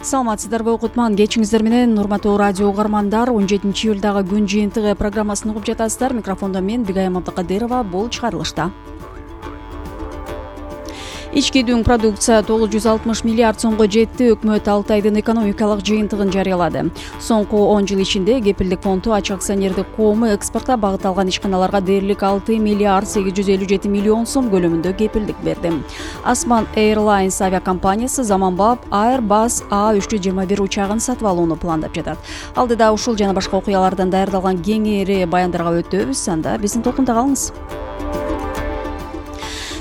Саламатсыздарбы окутман, кечиңиздер менен урматтуу радио угармандар. 17-июлдагы күн жыйынтыгы программасын угуп жатасыздар. Микрофондо мен Бигайым Абдыкадырова. Бул чыгарылышта. Ички дүң продукция 960 миллиард сомго жетти. Өкмөт 6 айдын экономикалык жыйынтыгын жарыялады. Соңку 10 жыл ичинде Кепилдик фонду ачык акционердик коому экспортко багытталган ишканаларга дээрлик 6 миллиард 857 миллион сом көлөмүндө кепилдик берди. Osman Airlines авиакомпаниясы заманбап Airbus A321 учагын сатып алууну пландап жатат. Алдыда ушул жана башка окуялардан даярдалган кеңири баяндарга өтөбүз. Анда биздин толкунда калыңыз.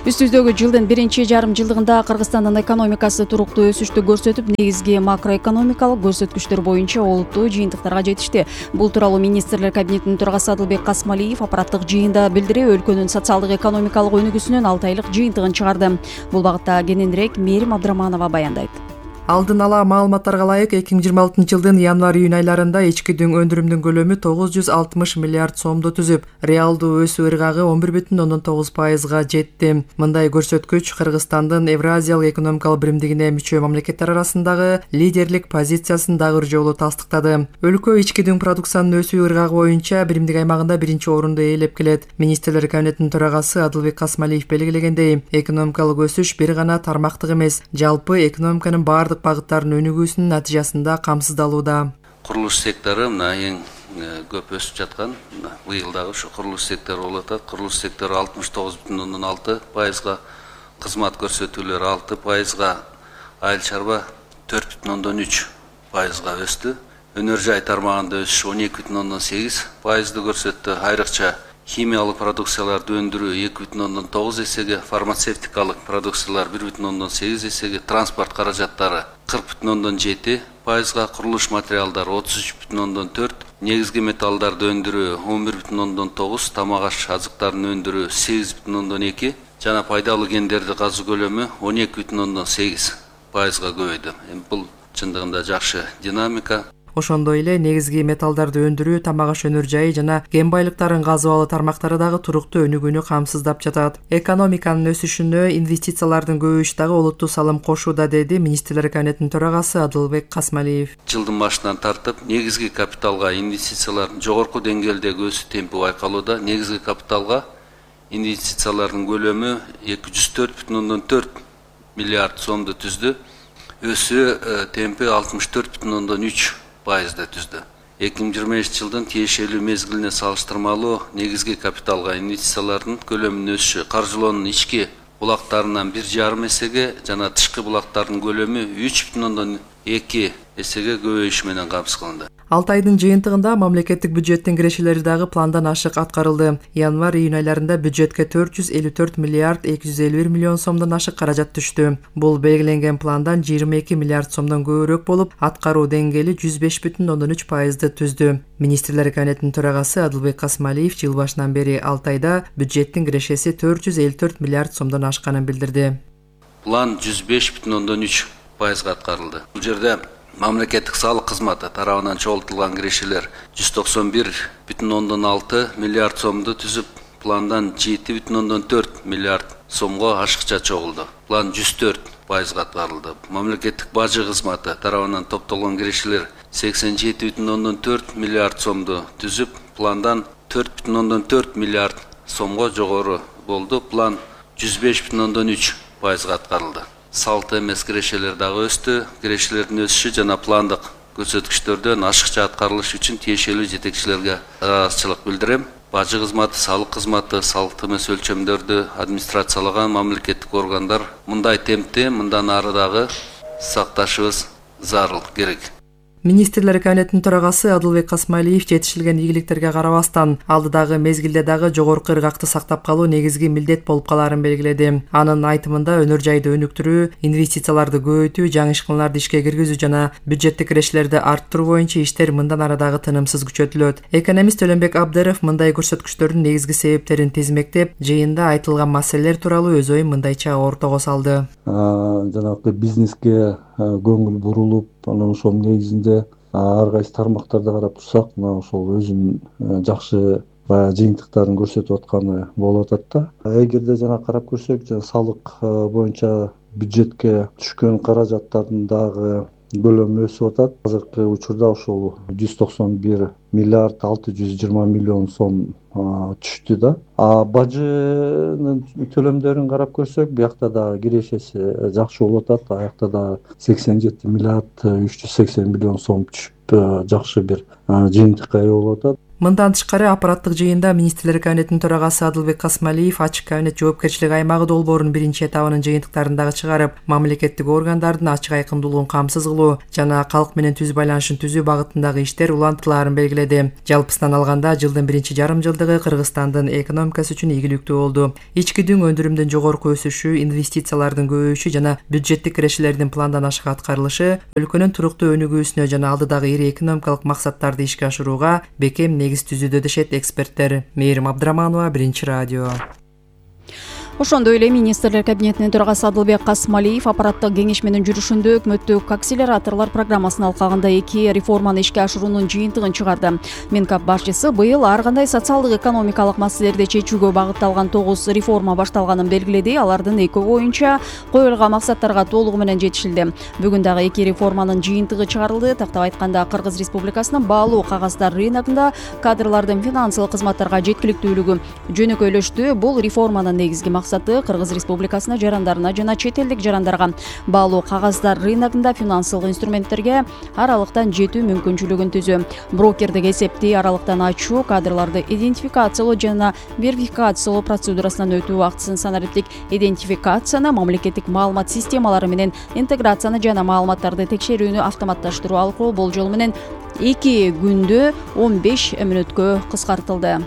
Үстүздөгү жылдын биринчи жарым жылдыгында Кыргызстандын экономикасы туруктуу өсүштү көрсөтүп, негизги макроэкономикалык көрсөткүчтөр боюнча олуттуу жыйынтыктарга жетишти. Бул тууралуу министрлер кабинетинин төрагасы Адылбек Касмалиев аппараттык жыйында билдирип, өлкөнүн социалдык экономикалык өнүгүүсүнүн 6 айлык жыйынтыгын чыгарды. Бул багытта кененирээк Мээрим Абдыраманова баяндайт. Алдын ала маалыматтарга ылайык 2026 жылдын январь-июнь айларында ички дүң өндүрүмдүн көлөмү 960 миллиард сомду түзүп, реалдуу өсүү ыргагы 11,9%га жетти. Мындай көрсөткүч Кыргызстандын Евразиялык экономикалык биримдигине мүчө мамлекеттер арасындагы лидерлик позициясын дагы бир жолу тастыктады. Өлкө ички дүң продукциянын өсүү ыргагы боюнча биримдик аймагында биринчи орунду ээлеп келет. Министрлер кабинетинин төрагасы Адылбек Касмалиев белгилегендей, экономикалык өсүш бир гана тармактык эмес, жалпы экономиканын бардык багыттардын өнүгүүсүнүн натыйжасында камсыздалууда. Курулуш сектору эң көп өсүп жаткан. Быйыл дагы ушу курулуш сектору болуп атат. Курулуш сектору 69,6%, кызмат көрсөтүүлөр 6%, айыл чарба 4,3%га өстү. Өнөр жай тармагында өсүш 12,8%ды көрсөттү. Айрыкча химиялык продукцияларды өндүрүү 2,9 эсеге, фармацевтикалык продукциялар 1,8 эсеге, транспорт каражаттары 40,7%га, курулуш материалдары 33,4%, негизги металлдарды өндүрүү 11,9%, тамак-аш азыктарын өндүрүү 8,2%, жана пайдалуу кендерди казуу көлөмү 12,8%га көбөйдү. Бул чындыгында жакшы динамика. Ошондой эле негизги металлдарды өндүрүү, тамак-аш өнөр жайы жана кен байлыктарын казып алуу тармактары дагы туруктуу өнүгүүнү камсыздап жатат. Экономиканын өсүшүнө инвестициялардын көбөйүшү дагы олуттуу салым кошууда, деди министрлер кабинетинин төрагасы Адылбек Касмалиев. Жылдын башынан тартып, негизги капиталга инвестициялардын жогорку деңгээлдеги өсүү темпи байкалууда. Негизги капиталга инвестициялардын көлөмү 204,4 миллиард сомду түздү. Өсүү темпи 64,3%ды түздү. 2023 жылдын тиешелүү мезгилине салыштырмалуу негизги капиталга инвестициялардын көлөмүнүн өсүшү каржылоонун ички булактарынан 1,5 эсеге жана тышкы булактардын көлөмү 3,2 эсеге көбөйүшү менен камсыз кылынды. 6 айдын жыйынтыгында мамлекеттик бюджеттин кирешелери дагы пландан ашык аткарылды. Январь-июнь айларында бюджетке 454 миллиард 251 миллион сомдон ашык каражат түштү. Бул белгиленген пландан 22 миллиард сомдон көбүрөөк болуп, аткаруу деңгээли 105,3%ды түздү. Министрлер кабинетинин төрагасы Адылбек Касмалиев жыл башынан бери 6 айда бюджеттин кирешеси 454 миллиард сомдон ашканын билдирди. План 105,3%га аткарылды. Бул жерде мамлекеттик салык кызматы тарабынан чогултулган кирешелер 191,6 миллиард сомду түзүп, пландан 7,4 миллиард сомго ашыкча чогулду. План 104%га аткарылды. Мамлекеттик бажы кызматы тарабынан топтолгон кирешелер 87,4 миллиард сомду түзүп, пландан 4,4 миллиард сомго жогору болду. План 105,3%га аткарылды. Салт эмес кирешелер дагы өстү. Кирешелердин өсүшү жана пландык көрсөткүчтөрдөн ашыкча аткарылышы үчүн тиешелүү жетекчилерге ыраазычылык билдирем. Бажы кызматы, салык кызматы, салт эмес өлчөмдөрдү администрациялаган мамлекеттик органдар мындай темпти мындан ары дагы сакташыбыз зарыл, керек. Министрлер кабинетинин төрагасы Адылбек Касмалиев жетишилген ийгиликтерге карабастан, алдыдагы мезгилде дагы жогорку ыргакты сактап калуу негизги милдет болуп калаарын белгиледи. Анын айтымында өнөр жайды өнүктүрүү, инвестицияларды көбөйтүү, жаңы ишканаларды ишке киргизүү жана бюджеттик кирешелерди арттыруу боюнча иштер мындан ары дагы тынымсыз күчөтүлөт. Экономист Төлөнбек Абдыров мындай көрсөткүчтөрдүн негизги себептерин тизмектеп, жыйында айтылган маселелер тууралуу өз оюн мындайча ортого салды. Жанагы бизнеске көңүл бурулуп, анан ошол негизинде ар кайсы тармактарды карап турсак, мына ошол өзүнүн жакшы баягы жыйынтыктарын көрсөтүп атканы болуп атат да. Эгерде жана карап көрсөк, салык боюнча бюджетке түшкөн каражаттардын дагы көлөмү өсүп атат. Азыркы учурда ошол 191 миллиард 620 миллион сом түштү да. Бажынын төлөмдөрүн карап көрсөк, биякта да кирешеси жакшы болуп атат. Аякта да 87 миллиард 380 миллион сом түшүп, жакшы бир жыйынтыкка ээ болуп атат. Мындан тышкары аппараттык жыйында министрлер кабинетинин төрагасы Адылбек Касмалиев ачык кабинет жоопкерчилик аймагы долбоорунун биринчи этабынын жыйынтыктарын дагы чыгарып, мамлекеттик органдардын ачык айкындуулугун камсыз кылуу жана калк менен түз байланышын түзүү багытындагы иштер улантылаарын белгиледи. Жалпысынан алганда жылдын биринчи жарым жылдыгы Кыргызстандын экономикасы үчүн ийгиликтүү болду. Ички дүң өндүрүмдүн жогорку өсүшү, инвестициялардын көбөйүшү жана бюджеттик кирешелердин пландан ашык аткарылышы өлкөнүн туруктуу өнүгүүсүнө жана алдыдагы ири экономикалык максаттарды ишке ашырууга бекем негиз түзүүдө дешет эксперттер. Мээрим Абдыраманова, Биринчи радио. Ошондой эле министрлер кабинетинин төрагасы Адылбек Касмалиев аппараттык кеңешменин жүрүшүндө өкмөттүк акселераторлор программасынын алкагында 2 реформаны ишке ашыруунун жыйынтыгын чыгарды. Менкап башчысы быйыл ар кандай социалдык экономикалык маселелерди чечүүгө багытталган 9 реформа башталганын белгиледи. Алардын 2 боюнча коюлган максаттарга толугу менен жетишилди. Бүгүн дагы 2 реформанын жыйынтыгы чыгарылды. Тактап айтканда, Кыргыз Республикасынын баалуу кагаздар рыногунда кадрлардын финансылык кызматтарга жеткиликтүүлүгү жөнөкөйлөштү. Бул реформанын негизги максаты Кыргыз Республикасына жарандарына жана чет элдик жарандарга баалуу кагаздар рыногунда финансылык инструменттерге аралыктан жетүү мүмкүнчүлүгүн түзүү. Брокердик эсепти аралыктан ачуу, кадрларды идентификациялоо жана верификациялоо процедурасынан өтүү убактысын санариптик идентификацияны, мамлекеттик маалымат системалары менен интеграцияны жана маалыматтарды текшерүүнү автоматташтыруу аркылуу болжол менен 2 күндө 15 мүнөткө кыскартылды.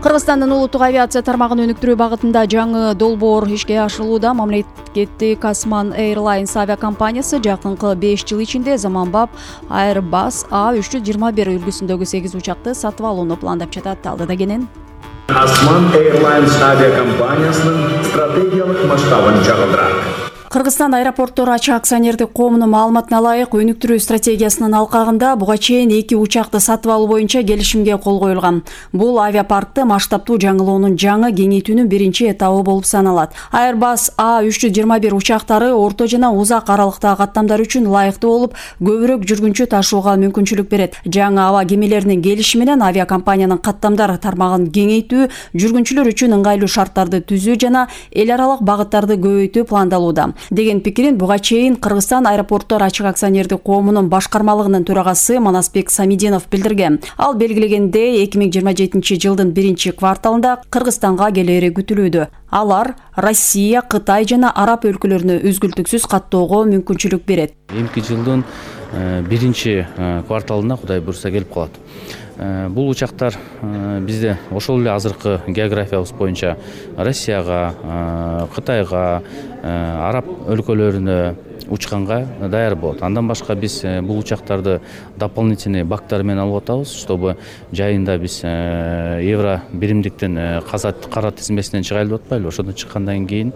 Кыргызстандын улуттук авиация тармагын өнүктүрүү багытында жаңы долбоор ишке ашырылууда. Мамлекеттик Osman Airlines авиакомпаниясы жакынкы 5 жыл ичинде заманбап Airbus A321 үлгүсүндөгү 8 учакты сатып алууну пландап жатат. Алдыда кенен Osman Airlines авиакомпаниясынын стратегиялык масштабын чагылдырат. Кыргызстан аэропорттор ачык акционердик коомунун маалыматына ылайык өнүктүрүү стратегиясынын алкагында буга чейин 2 учакты сатып алуу боюнча келишимге кол коюлган. Бул авиапаркты масштабтуу жаңылоонун жаңы кеңейтүүнүн биринчи этабы болуп саналат. Airbus A321 учактары орто жана узак аралыктагы каттамдар үчүн ылайыктуу болуп, көбүрөөк жүргүнчү ташууга мүмкүнчүлүк берет. Жаңы аба кемелеринин келиши менен авиакомпаниянын каттамдар тармагын кеңейтүү, жүргүнчүлөр үчүн ыңгайлуу шарттарды түзүү жана эл аралык багыттарды көбөйтүү пландалууда деген пикирин буга чейин Кыргызстан аэропорттор ачык акционердик коомунун башкармалыгынын төрагасы Манасбек Самидинов билдирген. Ал белгилегендей, 2027 жылдын биринчи кварталында Кыргызстанга келери күтүлүүдө. Алар Россия, Кытай жана Араб өлкөлөрүнө үзгүлтүксүз каттоого мүмкүнчүлүк берет. Эмки жылдын биринчи кварталына Кудай буйрса келип калат. Бул учактар бизде ошол эле азыркы географиябыз боюнча Россияга, Кытайга, Араб өлкөлөрүнө учканга даяр болот. Андан башка биз бул учактарды дополнительный бактар менен алып атабыз, чтобы жайында биз евро биримдиктин кара тизмесинен чыгайлы деп атпайлы. Ошондон чыккандан кийин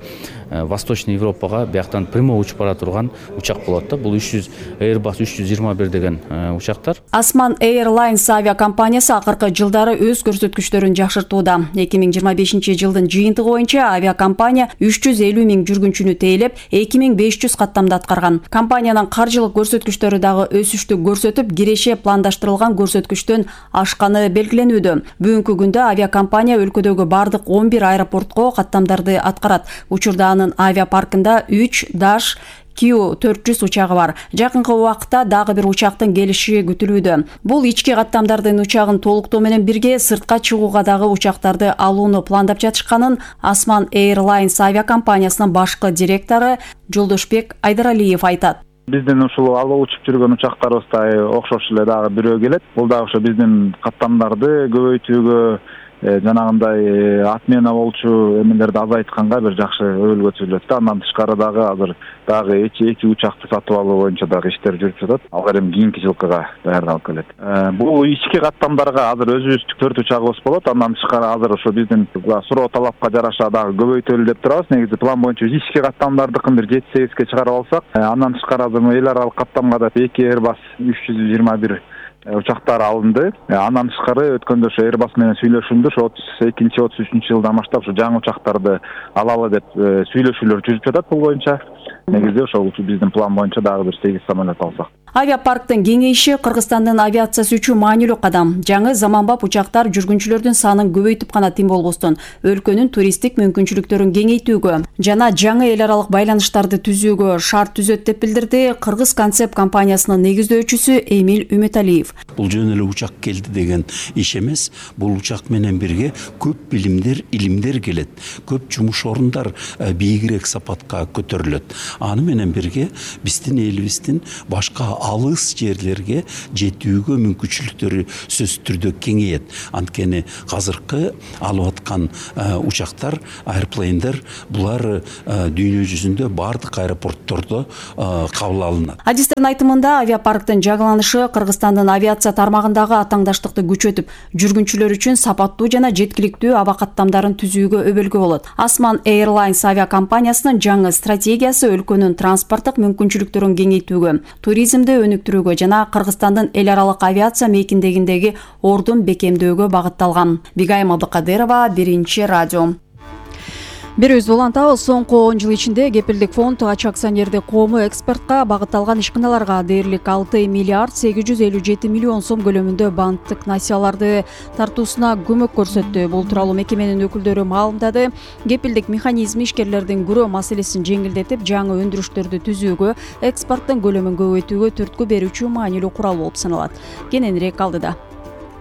Восточный Европага бияктан прямой учуп бара турган учак болот да. Бул Airbus 321 деген учактар. Osman Airlines авиакомпаниясы акыркы жылдары өз көрсөткүчтөрүн жакшыртууда. 2025 жылдын жыйынтыгы боюнча авиакомпания 350 миң жүргүнчүнү тейлеп, 2500 каттамда аткарган. Компаниянын каржылык көрсөткүчтөрү дагы өсүштү көрсөтүп, киреше пландаштырылган көрсөткүчтөн ашканы белгиленүүдө. Бүгүнкү күндө авиакомпания өлкөдөгү бардык 11 аэропортко каттамдарды аткарат. Учурда анын авиапаркында 3 Dash Q400 учагы бар. Жакынкы убакытта дагы бир учактын келиши күтүлүүдө. Бул ички каттамдардын учагын толуктоо менен бирге сыртка чыгууга дагы учактарды алууну пландап жатышканын Osman Airlines авиакомпаниясынын башкы директору Жолдошбек Айдаралиев айтат. Биздин ушул алып учуп жүргөн учактарыбыздай окшош эле дагы бирөө келет. Бул дагы ошо биздин каттамдарды көбөйтүүгө, жанагындай отмена болчу эмелерди азайтканга бир жакшы өбөлгө түзүлөт да. Андан тышкары дагы азыр дагы эки учакты сатып алуу боюнча дагы иштер жүрүп жатат. Алар эми кийинки жылкыга даярдалып келет. Бул ички каттамдарга азыр өзүбүздүн 4 учагыбыз болот. Андан тышкары азыр ошо биздин суроо талапка жараша дагы көбөйтөлү деп турабыз. Негизи план боюнча ички каттамдардыкын бир 7-8ге чыгарып алсак, андан тышкары азыр эл аралык каттамга да 2 Airbus 321 учактар алынды. Андан тышкары өткөндө ошо Airbus менен сүйлөшүлдү. Ошо 32-33 жылдан баштап ошо жаңы учактарды алалы деп сүйлөшүүлөр жүрүп жатат бул боюнча. Негизде ошол биздин план боюнча дагы бир 8 самолет алсак. Авиапарктын кеңейиши Кыргызстандын авиациясы үчүн маанилүү кадам. Жаңы заманбап учактар жүргүнчүлөрдүн санын көбөйтүп гана тим болбостон, өлкөнүн туристтик мүмкүнчүлүктөрүн кеңейтүүгө жана жаңы эл аралык байланыштарды түзүүгө шарт түзөт деп билдирди Кыргыз Концепт компаниясынын негиздөөчүсү Эмил Үмөталиев. Бул жөн эле учак келди деген иш эмес. Бул учак менен бирге көп билимдер, илимдер келет. Көп жумуш орундар бийигирээк сапатка көтөрүлөт. Аны менен бирге биздин элибиздин башка алыс жерлерге жетүүгө мүмкүнчүлүктөрү сөзсүз түрдө кеңейет. Анткени азыркы алып аткан учактар, airplane'дер булар дүйнө жүзүндө бардык аэропорттордо кабыл алынат. Адистердин айтымында авиапарктын жаңыланышы Кыргызстандын авиация тармагындагы атаңдаштыкты күчөтүп, жүргүнчүлөр үчүн сапаттуу жана жеткиликтүү аба каттамдарын түзүүгө өбөлгө болот. Осман Airlines авиакомпаниясынын жаңы стратегиясы өлкөнүн транспорттук мүмкүнчүлүктөрүн кеңейтүүгө, туризмди өнүктүрүүгө жана Кыргызстандын эл аралык авиация мейкиндегиндеги ордун бекемдөөгө багытталган. Бигайым Абдыкадырова, Биринчи радио. Берүүбүздү улантабыз. Соңку 10 жыл ичинде Кепилдик фонд ачык акционердик коому экспортко багытталган ишканаларга дээрлик 6 миллиард 857 миллион сом көлөмүндө банктык насыяларды тартуусуна көмөк көрсөттү. Бул тууралуу мекеменин өкүлдөрү маалымдады. Кепилдик механизми ишкерлердин күрөө маселесин жеңилдетип, жаңы өндүрүштөрдү түзүүгө, экспорттун көлөмүн көбөйтүүгө түрткү берүүчү маанилүү курал болуп саналат. Кененирээк алдыда.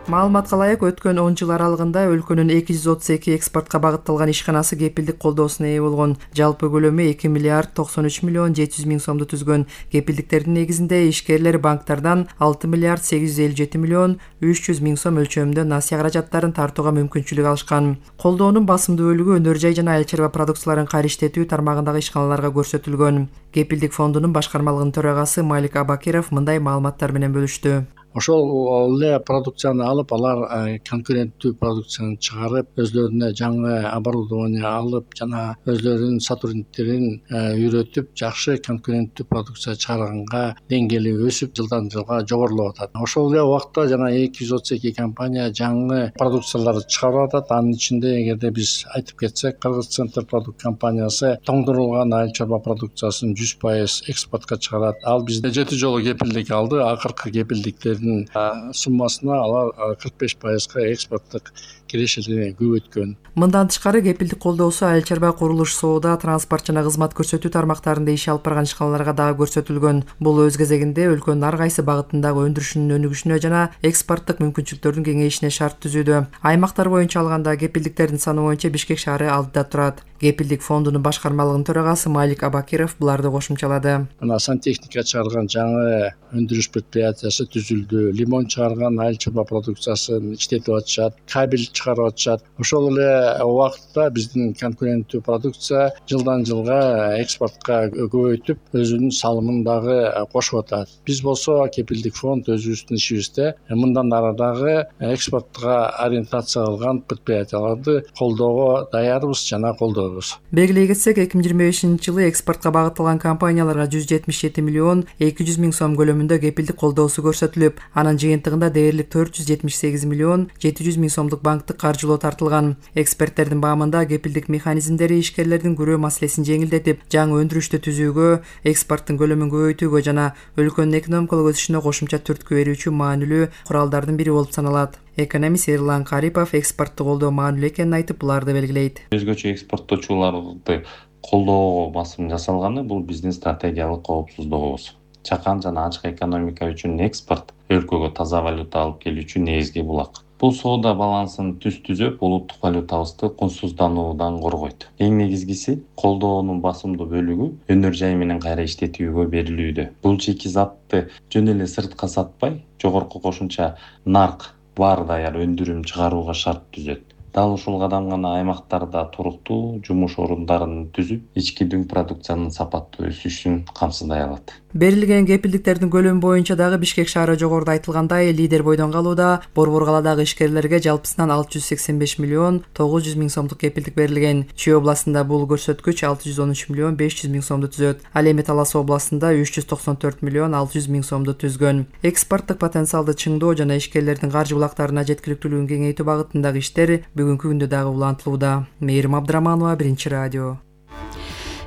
Маалыматка ылайык өткөн 10 жыл аралыгында өлкөнүн 232 экспортко багытталган ишканасы кепилдик колдоосуна ээ болгон. Жалпы көлөмү 2 миллиард 93 миллион 700 миң сомду түзгөн. Кепилдиктердин негизинде ишкерлер банктардан 6 миллиард 857 миллион 300 миң сом өлчөмүндө насыя каражаттарын тартууга мүмкүнчүлүк алышкан. Колдоонун басымдуу бөлүгү өнөр жай жана айыл чарба продукцияларын кайриштетүү тармагындагы ишканаларга көрсөтүлгөн. Кепилдик фондунун башкармалыгынын төрагасы Малик Абакиров мындай маалыматтар менен бөлүштү. Ошол эле продукцияны алып, алар конкуренттүү продукцияны чыгарып, өзлөрүнө жаңы оборудование алып жана өзлөрүнүн сотрудниктерин үйрөтүп, жакшы конкуренттүү продукция чыгарганга деңгээли өсүп, жылдан жылга жогорулап атат. Ошол эле убакта жана 232 компания жаңы продукцияларды чыгарып атат. Анын ичинде эгерде биз айтып кетсек, Кыргыз Центр продукт компаниясы тоңдурулган айыл чарба продукциясын 100% экспортко чыгарат. Ал бизде 7 жолу кепилдик алды. Акыркы кепилдиктердин суммасына алар 45%га экспорттук кирешилигин көбөйткөн. Мындан тышкары кепилдик колдоосу айыл чарба, курулуш, соода, транспорт жана кызмат көрсөтүү тармактарында иш алып барган ишканаларга дагы көрсөтүлгөн. Бул өз кезегинде өлкөнүн ар кайсы багытындагы өндүрүшүнүн өнүгүшүнө жана экспорттук мүмкүнчүлүктөрдүн кеңейишине шарт түзүүдө. Аймактар боюнча алганда кепилдиктердин саны боюнча Бишкек шаары алдыда турат. Кепилдик фондунун башкармалыгынын төрагасы Малик Абакиров буларды кошумчалады. Мына сантехника чыгарган жаңы өндүрүш предприятиясы түзүлдү. Лимон чыгарган айыл чарба продукциясын иштетип атышат. Кабель чыгарып атышат. Ошол эле убакытта биздин конкуренттүү продукция жылдан жылга экспортко көбөйтүп, өзүнүн салымын дагы кошуп атат. Биз болсо кепилдик фонд өзүбүздүн ишибизде мындан ары дагы экспортко ориентация кылган предприятияларды колдоого даярбыз жана колдойбуз. Белгилей кетсек, 2025-жылы экспортко багытталган компанияларга 177 миллион 200 миң сом көлөмүндө кепилдик колдоосу көрсөтүлүп, анын жыйынтыгында дээрлик 478 миллион 700 миң сомдук банктык каржылоо тартылган. Эксперттердин баамында кепилдик механизмдери ишкерлердин күрөө маселесин жеңилдетип, жаңы өндүрүштү түзүүгө, экспорттун көлөмүн көбөйтүүгө жана өлкөнүн экономикалык өсүшүнө кошумча түрткү берүүчү маанилүү куралдардын бири болуп саналат. Экономист Эрлан Карипов экспортту колдоо маанилүү экенин айтып, буларды белгилейт. Өзгөчө экспорттоочуларды колдоого басым жасалганы бул биздин стратегиялык коопсуздугубуз. Чакан жана ачык экономика үчүн экспорт өлкөгө таза валюта алып келүүчү негизги булак. Бул соода балансын түзөп, улуттук валютабызды кунсуздануудан коргойт. Эң негизгиси колдоонун басымдуу бөлүгү өнөр жай менен кайра иштетүүгө берилүүдө. Бул шикизатты жөн эле сыртка сатпай, жогорку кошумча нарк бар даяр өндүрүм чыгарууга шарт түзөт. Дал ушул кадам гана аймактарда туруктуу жумуш орундарын түзүп, ички дүң продукциянын сапаттуу өсүшүн камсыздай алат. Берилген кепилдиктердин көлөмү боюнча дагы Бишкек шаары жогоруда айтылгандай лидер бойдон калууда. Борбор калаадагы ишкерлерге жалпысынан 685 миллион 900 миң сомдук кепилдик берилген. Чүй областында бул көрсөткүч 613 миллион 500 миң сомду түзөт. Ал эми Талас областында 394 миллион 600 миң сомду түзгөн. Экспорттук потенциалды чыңдоо жана ишкерлердин каржы булактарына жеткиликтүүлүгүн кеңейтүү багытындагы иштер бүгүнкү күндө дагы улантылууда. Мээрим Абдыраманова, Биринчи радио.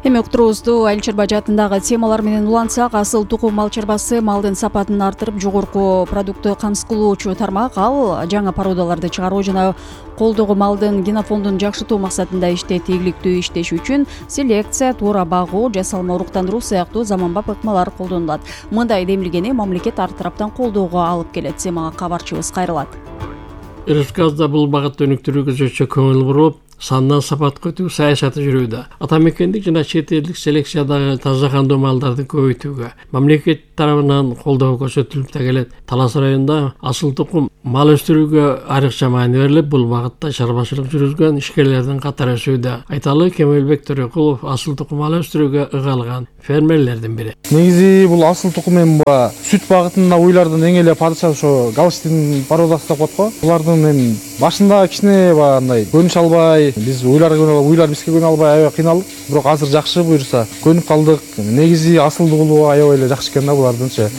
Эми уктуруубузду Айыл Чарбажы атындагы темалар менен улантсак, асыл тукум мал чарбасы малдын сапатын арттырып, жогорку продуктты камсыз кылуучу тармак. Ал жаңы породаларды чыгаруу жана колдогу малдын генофондун жакшыртуу максатында иштейт. Ийгиликтүү иштеш үчүн селекция, туура багуу, жасалма уруктандыруу сыяктуу заманбап ыкмалар колдонулат. Мындай демилгени мамлекет ар тараптан колдоого алып келет. Семага кабарчыбыз кайрылат. РСКда бул багытта өнүктүрүүгө өзгөчө көңүл буруп, сандан сапатка өтүү саясаты жүрүүдө. Атамекендик жана чет элдик селекциядагы таза кандуу малдарды көбөйтүүгө мамлекет тарабынан колдоо көрсөтүлүп келет. Талас районунда асыл тукум мал өстүрүүгө айрыкча маани берилип, бул багытта чарбачылык жүргүзгөн ишкерлердин катары өсүүдө. Айталы Кемелбек Төрөкулов асыл тукум мал өстүрүүгө ыгалган фермерлердин бири. Негизи бул асыл тукум эми сүт багытында уйлардын эң эле падыша ошо Галштин породасы деп коет го. Булардын эми башында кичине андай көнүш албай, биз уйлар бизге көнө албай аябай кыйналдык. Бирок азыр жакшы буюрса көнүп калдык. Негизи асылдуулугу аябай эле жакшы экен да булардынчы.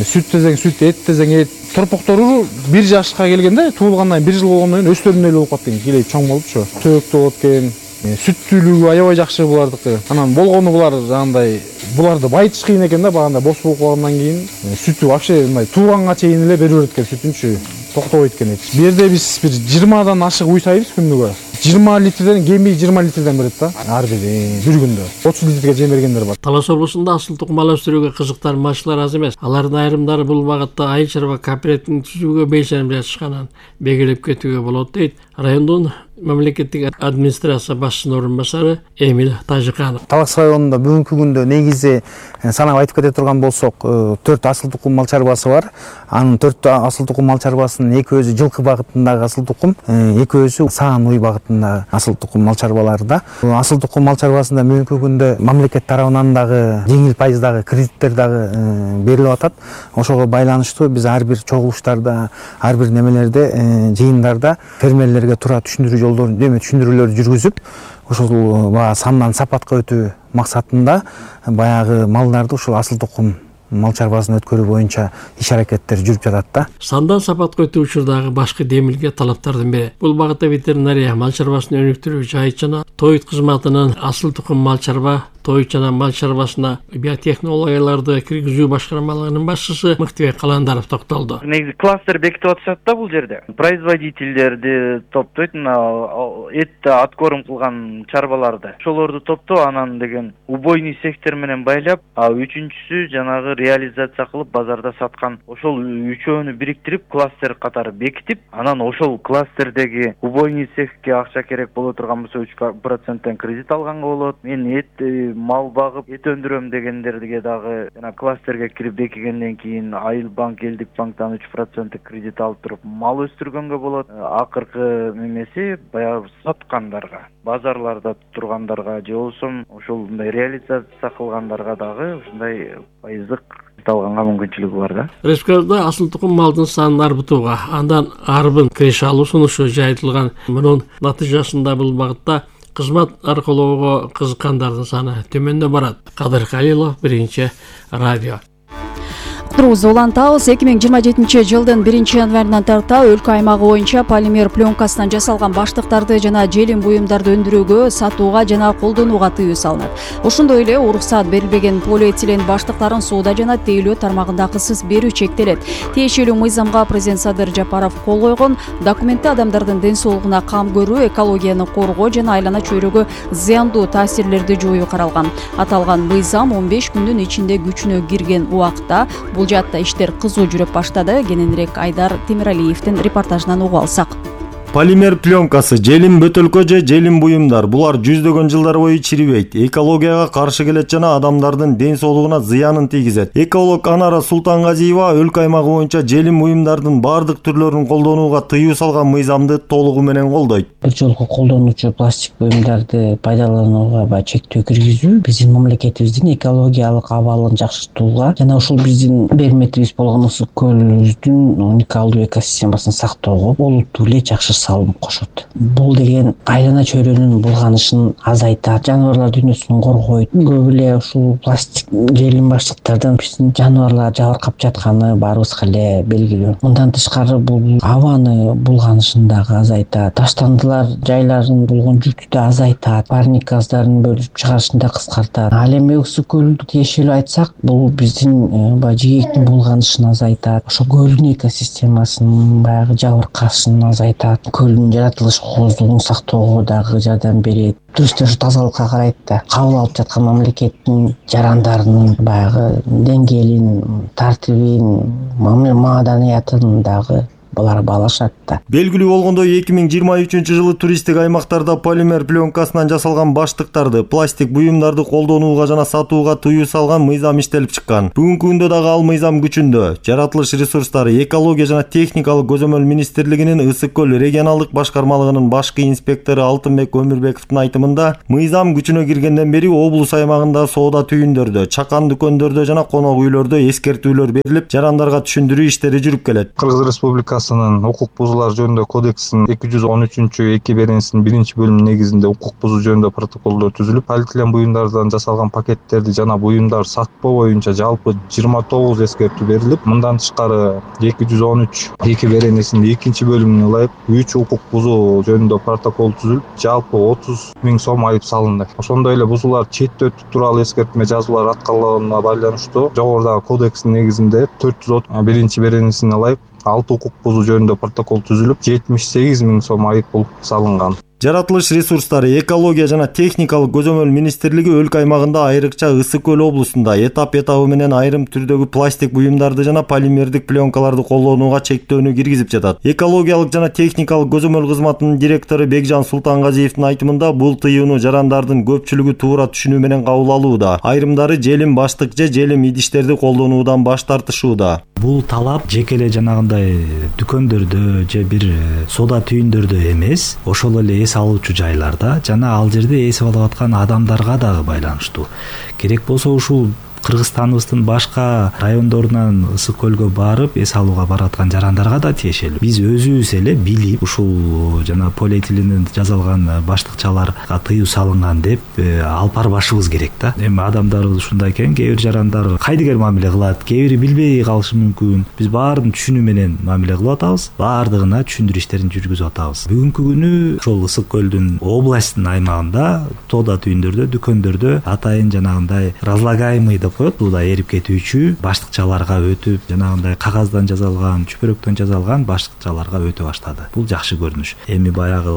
Сүт десең сүт, эт десең эт. Торпоктору 1 жашка келгенде, туулгандан 1 жыл болгондон кийин өстөрүндөй эле болуп калат экен, келип чоң болупчу. Төөктүү болот экен. Сүттүүлүгү аябай жакшы булардыкы. Анан болгону булар жагандай буларды байытыш кыйын экен да, баганда бос болуп калгандан кийин сүтү вообще мындай тууганга чейин эле бере берет экен, сүтүнчү токтобойт экен. Бу жерде биз бир 20дан ашык уй сайбыз күнүгө. 20 литрден кембей 20 литрден берет да. Ар бир күндө 30 литрге жем бергендер бар. Талас облусунда асыл тукум мал өстүрүүгө кызыктар малчылар аз эмес. Алардын айрымдары бул багытта айыл чарба кооперативин түзүүгө белсенип жатышканын белгилеп кетүүгө болот дейт райондун мамлекеттик администрация башчысынын орун басары Эмил Тажыканов. Талас районунда бүгүнкү күндө негизи санап айтып кете турган болсок, 4 асыл тукум мал чарбасы бар. Анын 4 асыл тукум мал чарбасынын экөөсү жылкы багытындагы асыл тукум, экөөсү саан уй багытындагы асыл тукум мал чарбалары да. Асыл тукум мал чарбасында бүгүнкү күндө мамлекет тарабынан дагы жеңил пайыздагы кредиттер дагы берилип атат. Ошого байланыштуу биз ар бир чогулуштарда, ар бир немелерде, жыйындарда фермерлерге туура түшүндүрүүлөр жүргүзүп, ошол сандан сапатка өтүү максатында баягы малдарды ушул асыл тукум мал чарбасын өткөрүү боюнча иш аракеттер жүрүп жатат да. Сандан сапатка өтүү учурдагы башкы демилге талаптардын бири. Бул багытта ветеринария мал чарбасын өнүктүрүү жайыт жана тоют кызматынын асыл тукум мал чарба тоют жана мал чарбасына биотехнологияларды киргизүү башкармалыгынын башчысы Мыктыбек Каландаров токтолду. Негизи кластер бекитип атышат да бул жерде. Производительдерди топтойт, этти откорм кылган чарбаларды. Ошолорду топтоо, анан деген убойный сектор менен байлап, үчүнчүсү жанагы реализация кылып базарда саткан. Ошол үчөөнү бириктирип кластер катары бекитип, анан ошол кластердеги убойный цехке акча керек боло турган болсо 3% кредит алганга болот. Мен мал багып эт өндүрөм дегендерге дагы жана кластерге кирип бекигенден кийин Айыл банк, Элдик банктан 3% кредит алып туруп мал өстүргөнгө болот. Акыркы немеси баягы саткандарга, базарларда тургандарга же болбосо ошол мындай реализация кылгандарга дагы ушундай пайыздык алганга мүмкүнчүлүгү бар да. Республикада асыл тукум малдын санын арбытууга, андан арбын киреше алуу сунушу жайылтылган. Мунун натыйжасында бул багытта кызмат аркылоого кызыккандардын саны төмөндө барат. Кадыр Калилов, Биринчи радио. Уктуруубузду улантабыз. 2027 жылдын 1-январынан тарта өлкө аймагы боюнча полимер пленкасынан жасалган баштыктарды жана желим буюмдарды өндүрүүгө, сатууга жана колдонууга тыюу салынат. Ошондой эле уруксаат берилбеген полиэтилен баштыктарын сууда жана тейлөө тармагында акысыз берүү чектелет. Тиешелүү мыйзамга президент Садыр Жапаров кол койгон. Документте адамдардын ден соолугуна кам көрүү, экологияны коргоо жана айлана чөйрөгө зыяндуу таасирлерди жоюу каралган. Аталган мыйзам 15 күндүн ичинде күчүнө кирген убакта бул жаатта иштер кызуу жүрүп баштады. Кененирээк Айдар Темиралиевдин репортажынан угуп алсак. Полимер пленкасы, желим бөтөлкө же желим буюмдар. Булар жүздөгөн жылдар бою чирибейт. Экологияга каршы келет жана адамдардын ден соолугуна зыянын тийгизет. Эколог Анара Султангазиева өлкө аймагы боюнча желим буюмдардын бардык түрлөрүн колдонууга тыюу салган мыйзамды толугу менен колдойт. Бир жолку колдонуучу пластик буюмдарды пайдаланууга чектөө киргизүү биздин мамлекетибиздин экологиялык абалын жакшыртууга жана ушул биздин берметибиз болгон ысык көлүбүздүн уникалдуу экосистемасын сактоого олуттуу эле жакшы салым кошот. Бул деген айлана чөйрөнүн булганышын азайтат, жаныбарлар дүйнөсүн коргойт. Көп эле ушул пластик желим баштыктардан биздин жаныбарлар жабыркап жатканы баарыбызга эле белгилүү. Мындан тышкары бул абаны булганышын дагы азайтат. Таштандылар жайларын болгон жүктү да азайтат, парник газдарын бөлүп чыгарышын да кыскартат. Ал эми ысык көлдү тиешелүү айтсак, бул биздин жээктин булганышын азайтат. Ошо көлдүн экосистемасынын баягы жабыркашын азайтат. Көлдүн жаратылыш кооздугун сактоого дагы жардам берет. Туристтер тазалыкка карайт да, кабыл алып жаткан мамлекеттин жарандарынын баягы деңгээлин, тартибин, маданиятын дагы булар баалашат да. Белгилүү болгондой 2023-жылы туристтик аймактарда полимер пленкасынан жасалган баштыктарды, пластик буюмдарды колдонууга жана сатууга тыюу салган мыйзам иштелип чыккан. Бүгүнкү күндө дагы ал мыйзам күчүндө. Жаратылыш ресурстары, экология жана техникалык көзөмөл министрлигинин Ысык көл регионалдык башкармалыгынын башкы инспектору Алтынбек Өмүрбековдун айтымында, мыйзам күчүнө киргенден бери облус аймагында соода түйүндөрдө, чакан дүкөндөрдө жана конок үйлөрдө эскертүүлөр берилип, жарандарга түшүндүрүү иштери жүрүп келет. Кыргыз Республикасынын укук бузуулар жөнүндө кодексинин 213-2 беренесинин 1-бөлүмү негизинде укук бузуу жөнүндө протоколдор түзүлүп, полиэтилен буюмдардан жасалган пакеттерди жана буюмдар сатпоо боюнча жалпы 29 эскертүү берилип, мындан тышкары 213-2 беренесинин 2-бөлүмүнө ылайык 3 укук бузуу жөнүндө протокол түзүлүп, жалпы 30 000 сом айып салынды. Ошондой эле бузуулар четте өтүү тууралуу эскертме жазуулар аткарылганына байланыштуу жогорудагы кодекстин негизинде 401 беренесине ылайык 6 укук бузуу жөнүндө протокол түзүлүп, 78 000 сом айып пул салынган. Жаратылыш ресурстары, экология жана техникалык көзөмөл министрлиги өлкө аймагында айрыкча Ысык көл облусунда этап-этабы менен айрым түрдөгү пластик буюмдарды жана полимердик пленкаларды колдонууга чектөөнү киргизип жатат. Экологиялык жана техникалык көзөмөл кызматынын директору Бекжан Султангазиевдин айтымында, бул тыюуну жарандардын көпчүлүгү туура түшүнүү менен кабыл алууда. Айрымдары желим баштык же желим идиштерди колдонуудан баш тартышууда. Бул талап жеке эле жанагындай дүкөндөрдө же бир соода түйүндөрдө эмес, ошол эле эс алуучу жайларда жана ал жерде эсип алып аткан адамдарга дагы байланыштуу. Керек болсо ушул Кыргызстаныбыздын башка райондорунан Ысык көлгө барып эс алууга бараткан жарандарга да тиешелүү. Биз өзүбүз эле билип ушул жана полиэтиленден жасалган баштыкчаларга тыюу салынган деп алып барбашыбыз керек да. Эми адамдарыбыз ушундай экен, кээ бир жарандар кайдыгер мамиле кылат, кээ бири билбей калышы мүмкүн. Биз баарын түшүнүү менен мамиле кылып атабыз, баардыгына түшүндүрүү иштерин жүргүзүп атабыз. Бүгүнкү күнү ошол Ысык көлдүн областтын аймагында соода түйүндөрдө, дүкөндөрдө атайын жанагындай разлагаемый коет, бул да эрип кетүүчү баштыкчаларга өтүп, жанагындай кагаздан жасалган, чүпөрөктөн жасалган баштыкчаларга өтө баштады. Бул жакшы көрүнүш. Эми баягы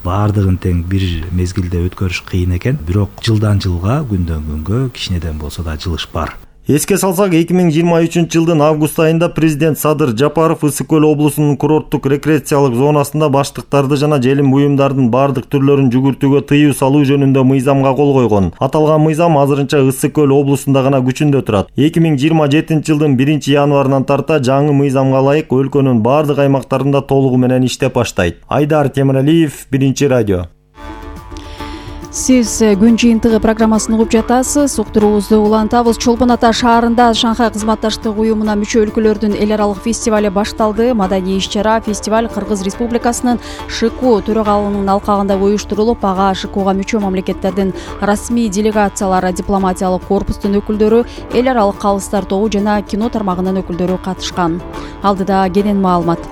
баардыгын тең бир мезгилде өткөрүш кыйын экен, бирок жылдан жылга, күндөн күнгө кичинеден болсо да жылыш бар. Эске салсак, 2023-жылдын август айында президент Садыр Жапаров Ысык көл облусунун курорттук рекреациялык зонасында баштыктарды жана желим буюмдардын бардык түрлөрүн жүгүртүүгө тыюу салуу жөнүндө мыйзамга кол койгон. Аталган мыйзам азырынча Ысык көл облусунда гана күчүндө турат. 2027-жылдын 1-январынан тарта жаңы мыйзамга ылайык өлкөнүн бардык аймактарында толугу менен иштеп баштайт. Айдар Темиралиев, Биринчи радио. Сиз күн жыйынтыгы программасын угуп жатасыз. Уктуруубузду улантабыз. Чолпон Ата шаарында Шанхай кызматташтык уюмуна мүчө өлкөлөрдүн эл аралык фестивали башталды. Маданий иш-чара фестиваль Кыргыз Республикасынын ШКУ төрагалыгынын алкагында уюштурулуп, ага ШКУга мүчө мамлекеттердин расмий делегациялары, дипломатиялык корпустун өкүлдөрү, эл аралык калыстар тобу жана кино тармагынын өкүлдөрү катышкан. Алдыда кенен маалымат.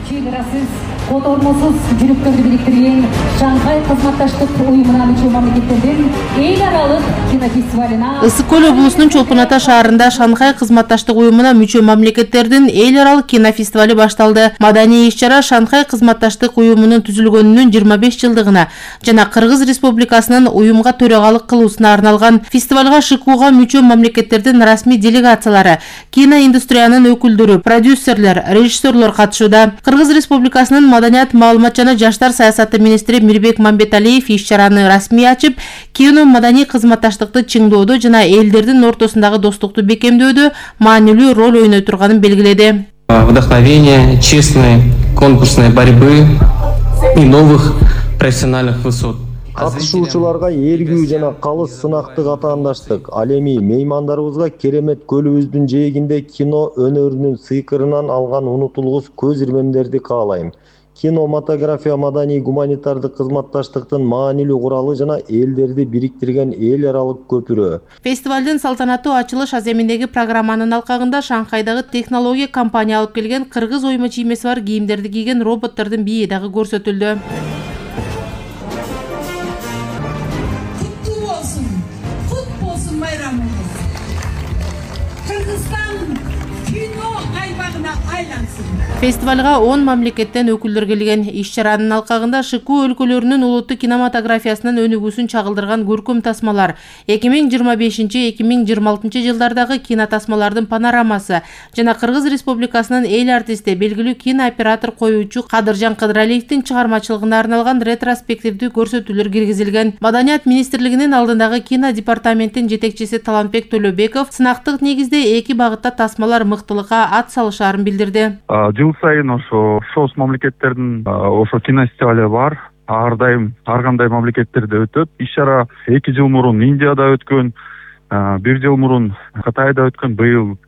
Чегарасыз, котормосуз жүрүктөрдү бириктирген Шанхай кызматташтык уюмуна мүчө мамлекеттердин эл аралык кинофестивалына Ысык көл облусунун Чолпон Ата шаарында Шанхай кызматташтык уюмуна мүчө мамлекеттердин эл аралык кинофестивали башталды. Маданий иш-чара Шанхай кызматташтык уюмунун түзүлгөнүнүн 25 жылдыгына жана Кыргыз Республикасынын уюмга төрагалык кылуусуна арналган. Фестивалга ШКУга мүчө мамлекеттердин расмий делегациялары, киноиндустриянын өкүлдөрү, продюсерлер, режиссерлор катышууда. Кыргыз Республикасынын маданият, маалымат жана жаштар саясаты министри Мирбек Мамбеталиев иш-чараны расмий ачып, кино маданий кызматташтыкты чыңдоодо жана элдердин ортосундагы достукту бекемдөөдө маанилүү роль ойной турганын белгиледи. Вдохновение, честной конкурсной борьбы и новых профессиональных высот. Катышуучуларга эргүү жана калыс сынакты катаандаштык. Ал эми меймандарыбызга Керемет көлүбүздүн жээгинде кино өнөрүнүн сыйкырынан алган унутулгус көз ирмемдерди каалайм. Кинематография маданий гуманитардык кызматташтыктын маанилүү куралы жана элдерди бириктирген эл аралык көпүрө. Фестивалдын салтанаттуу ачылыш аземиндеги программанын алкагында Шанхайдагы технология компания алып келген кыргыз ойма чиймеси бар кийимдерди кийген роботтордун бийи дагы көрсөтүлдү. Фестивалга 10 мамлекеттен өкүлдөр келген. Иш-чаранын алкагында ШК өлкөлөрүнүн улуттук кинематографиясынын өнүгүүсүн чагылдырган көркөм тасмалар, 2025-2026 жылдардагы кинотасмалардын панорамасы жана Кыргыз Республикасынын эл артисти, белгилүү кинооператор коюучу Кадыржан Кыдыралиевдин чыгармачылыгына арналган ретроспективдүү көрсөтүүлөр киргизилген. Маданият министрлигинин алдындагы кино департаменттин жетекчиси Талантбек Төлөбеков сынактык негизде эки багытта тасмалар мыктылыкка ат салышаарын билдирди. Жыл сайын ошо шоус мамлекеттердин ошо кинофестивали бар. Ар дайым ар кандай мамлекеттерде өтөт. Иш-чара 2 жыл мурун Индияда өткөн, 1 жыл мурун Кытайда өткөн, быйыл